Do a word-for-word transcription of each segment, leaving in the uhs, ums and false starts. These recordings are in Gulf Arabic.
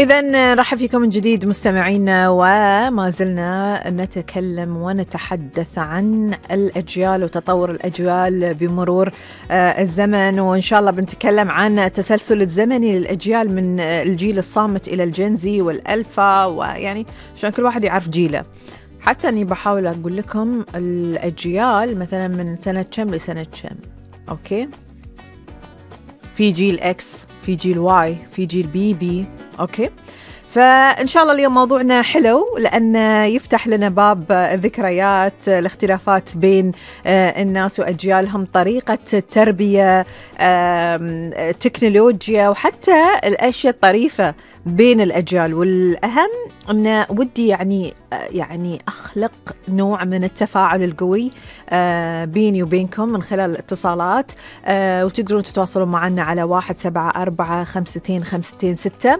إذن نرحب فيكم من جديد مستمعينا، وما زلنا نتكلم ونتحدث عن الأجيال وتطور الأجيال بمرور الزمن، وإن شاء الله بنتكلم عن التسلسل الزمني للأجيال من الجيل الصامت إلى الجنزي والألفا، ويعني عشان كل واحد يعرف جيله. حتى أني بحاول أقول لكم الأجيال مثلا من سنة كم لسنة كم. أوكي، في جيل إكس، في جيل واي، في جيل بي بي. أوكي، فإن شاء الله اليوم موضوعنا حلو لأن يفتح لنا باب الذكريات، الاختلافات بين الناس وأجيالهم، طريقة التربية، تكنولوجيا، وحتى الأشياء الطريفة بين الأجيال. والأهم أن ودي يعني يعني أخلق نوع من التفاعل القوي بيني وبينكم من خلال الاتصالات، وتقدرون تتواصلون معنا على واحد سبعة أربعة خمستين خمستين ستة.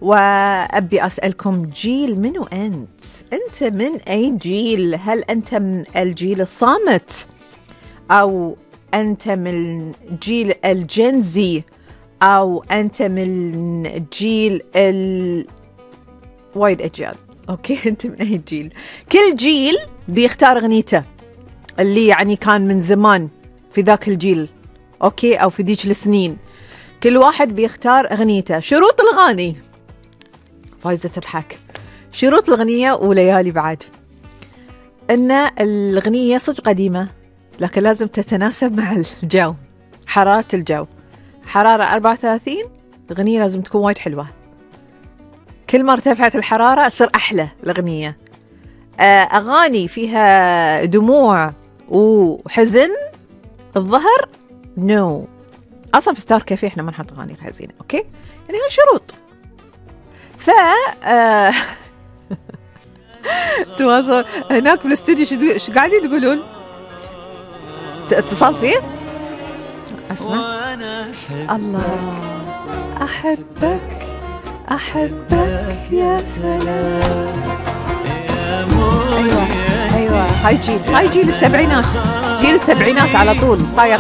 وأبي أسألكم، جيل منو أنت؟ أنت من أي جيل؟ هل أنت من الجيل الصامت، أو أنت من جيل الجنزي، أو أنت من جيل ال وايد أجيال؟ أوكي، أنت من أي جيل؟ كل جيل بيختار أغنيته اللي يعني كان من زمان في ذاك الجيل، أوكي، أو في ديك السنين. كل واحد بيختار أغنيته. شروط الأغاني، فايزة تضحك، شروط الأغنية وليالي بعد، أن الأغنية صدق قديمة لكن لازم تتناسب مع الجو، حرارة الجو. حرارة أربعة وثلاثين، الأغنية لازم تكون وايد حلوة. كل ما ارتفعت الحرارة تصير أحلى الأغنية. أغاني فيها دموع وحزن الظهر نو. أصلا في ستار كافيه إحنا ما نحط أغاني حزينة، أوكي، يعني هاي شروط. ف آه... تواصل هناك في الاستوديو، شو شو قاعدين تقولون؟ اتصال فيه؟ اسمع. الله، أحبك أحبك يا سلام. أيوة أيوة، هاي جيل هاي جيل السبعينات، جيل السبعينات على طول طاير